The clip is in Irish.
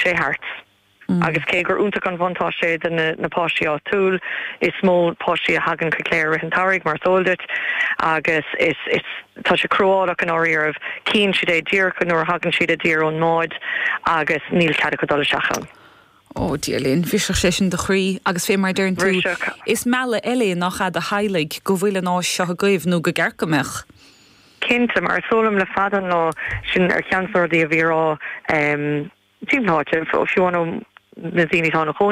Sé thart. Agus cé gur iontach an bhuntáiste é do na páistí áitiúil, is mó páistí a thagann chuig Cléire i rith an tsamhraidh, mar is eol duit, agus is, is, tá sé cruálach i ndáiríribh. Cíonn siad é díreach nuair a thagann siad i dtír ón mbád agus níl cead acu dul isteach ann. Ó, Dia linn, bhrisfeadh sé sin do chroí agus fé mar a deireann tú, Bhrisfeadh. is mealladh eile é nach ea do theaghlaigh go bhfuil an áis seo agaibh nó go gceart go mbeadh. Cinnte, mar is eol dom le fada an lá, sin ar cheann de na rudaí a bhí á rá timpeall na háite, fiú amháin ó na daoine atá ina chónaí.